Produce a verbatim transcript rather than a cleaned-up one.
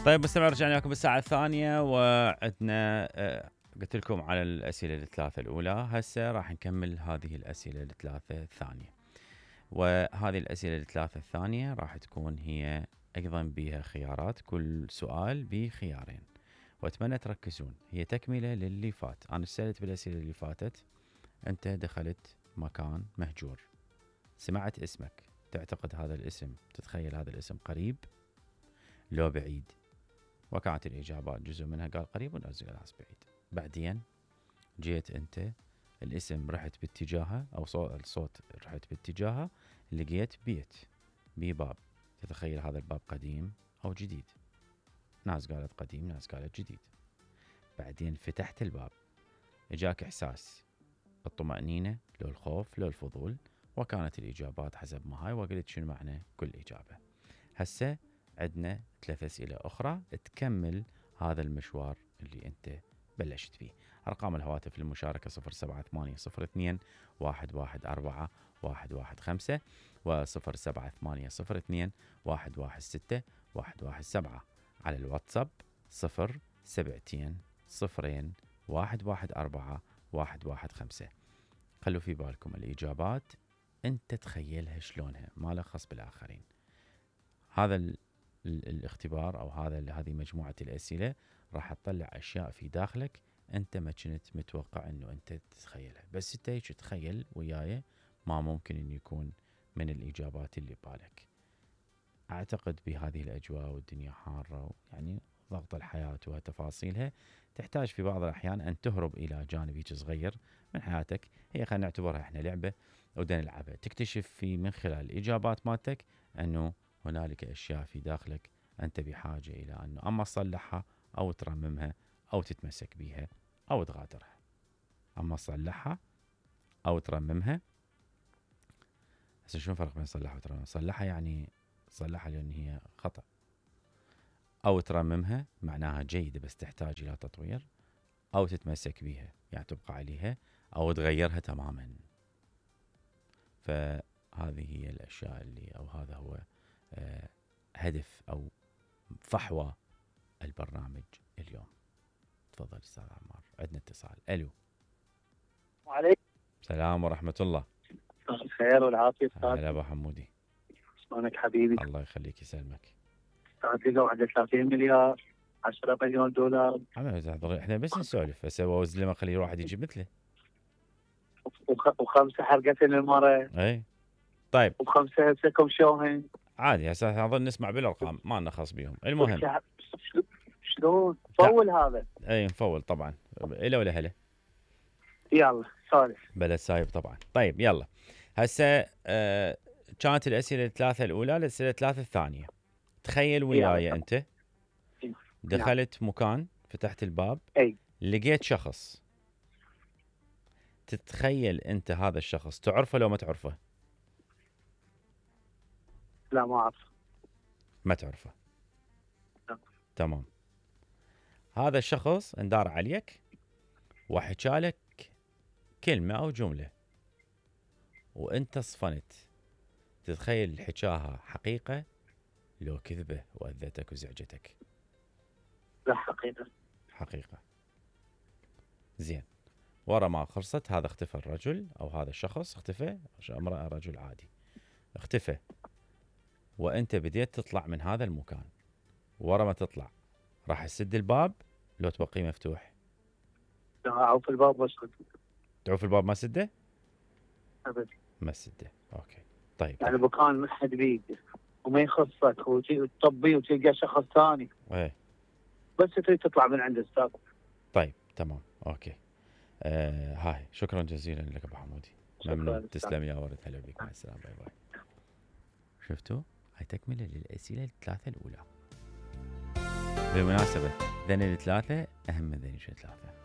طيب مستمع، رجعنا لكم بالساعة الثانية وعندنا آه قلت لكم على الأسئلة الثلاثة الأولى. هسه راح نكمل هذه الأسئلة الثلاثة الثانية، وهذه الأسئلة الثلاثة الثانية راح تكون هي أيضا بها خيارات، كل سؤال بخيارين، وأتمنى تركزون. هي تكملة للي فات. أنا سألت بالأسئلة اللي فاتت، أنت دخلت مكان مهجور، سمعت اسمك، تعتقد هذا الاسم، تتخيل هذا الاسم قريب لو بعيد؟ وكانت الإجابات جزء منها قال قريب ونجزء ناس بعيد. بعدين جيت أنت الاسم رحت باتجاهه، أو صوت الصوت رحت باتجاهه، لقيت بيت بباب، تتخيل هذا الباب قديم أو جديد؟ ناس قالت قديم، ناس قالت جديد. بعدين فتحت الباب، اجاك إحساس الطمأنينة لو الخوف لو الفضول، وكانت الإجابات حسب ما هاي، وقلت شنو معنى كل إجابة. هسه عندنا ثلاث أسئلة أخرى تكمل هذا المشوار اللي أنت بلشت فيه. أرقام الهواتف للمشاركة صفر سبعة ثمانية صفر اثنين واحد واحد أربعة واحد واحد خمسة وصفر سبعة ثمانية صفر اثنين واحد واحد ستة واحد واحد سبعة. على الواتساب صفر سبعتين صفرين واحد واحد أربعة واحد واحد خمسة. خلوا في بالكم الإجابات أنت تخيلها شلونها، ما له خص بالآخرين. هذا ال ال الاختبار أو هذا هذه مجموعة الأسئلة راح تطلع أشياء في داخلك أنت ما كنت متوقع أنه أنت تتخيلها، بس أنت هيك تخيل وياي، ما ممكن أن يكون من الإجابات اللي ببالك. أعتقد بهذه الأجواء والدنيا حارة، يعني ضغط الحياة وتفاصيلها، تحتاج في بعض الأحيان أن تهرب إلى جانب صغير من حياتك. هي خلينا نعتبرها إحنا لعبة ودنا نلعبها، تكتشف في من خلال الإجابات مالتك أنه هنالك أشياء في داخلك أنت بحاجة إلى أنه أما تصلحها أو ترممها أو تتمسك بها أو تغادرها. أما تصلحها أو ترممها، هسه شو الفرق بين صلحها وترممها؟ صلحها يعني صلحها لأن هي خطأ، أو ترممها معناها جيدة بس تحتاج إلى تطوير، أو تتمسك بها يعني تبقى عليها أو تغيرها تماما. فهذه هي الأشياء اللي أو هذا هو آه هدف أو فحوى البرنامج اليوم. تفضل أستاذ عمار، عندنا اتصال. ألو. وعليكم السلام ورحمة الله. الخير والعافية أستاذ. هلا أبو حمودي. شلونك حبيبي؟ الله يخليك يسلمك. أستاذ لقوا عنده ثلاثين مليار، عشرة مليون دولار. احنا بس نسولف، بس هو وزن لما خلي واحد يجيب مثله. وخ... وخمسة حلقتين المرة. اي طيب. وخمسة هسه شوهن. عادي هسه نظل نسمع بالارقام، ما لنا خص بيهم. المهم شلون نفول هذا؟ اي نفول طبعا. الى ولا هلا. يلا سولف. بلد سايب طبعا. طيب يلا هسه آه كانت الاسئله الثلاثه الاولى، الاسئله الثلاثه الثانيه. تخيل وياي انت دخلت مكان، فتحت الباب، اي لقيت شخص. تتخيل انت هذا الشخص تعرفه لو ما تعرفه؟ لا ما اعرف. ما تعرفه. لا. تمام. هذا الشخص اندار عليك وحكالك كلمة أو جملة وأنت صفنت. تتخيل حكاها حقيقة لو كذبة وأذتك وزعجتك؟ لا حقيقة. حقيقة. زين. ورا ما خلصت هذا اختفى الرجل أو هذا الشخص اختفى، امرأة رجل عادي اختفى، وأنت بديت تطلع من هذا المكان. ورا ما تطلع راح تسد الباب لو تبقيه مفتوح؟ لا أعوف الباب واسكت. تعوف الباب ما سده؟ أبدا ما سده. أوكي طيب. يعني مكان ما حد بيده وما يخصك وتطبي وتلقى شخص ثاني. ايه بس تريد تطلع من عند استاذ. طيب تمام اوكي. آه هاي شكرا جزيلا لك ابو حمودي. ممنون. تسلم يا ورد. هلا بك. مع السلامه. باي باي. شفتوا هاي تكمله للاسئله الثلاثه الاولى. بالمناسبه ذني الثلاثه اهم من ذني الثلاثه.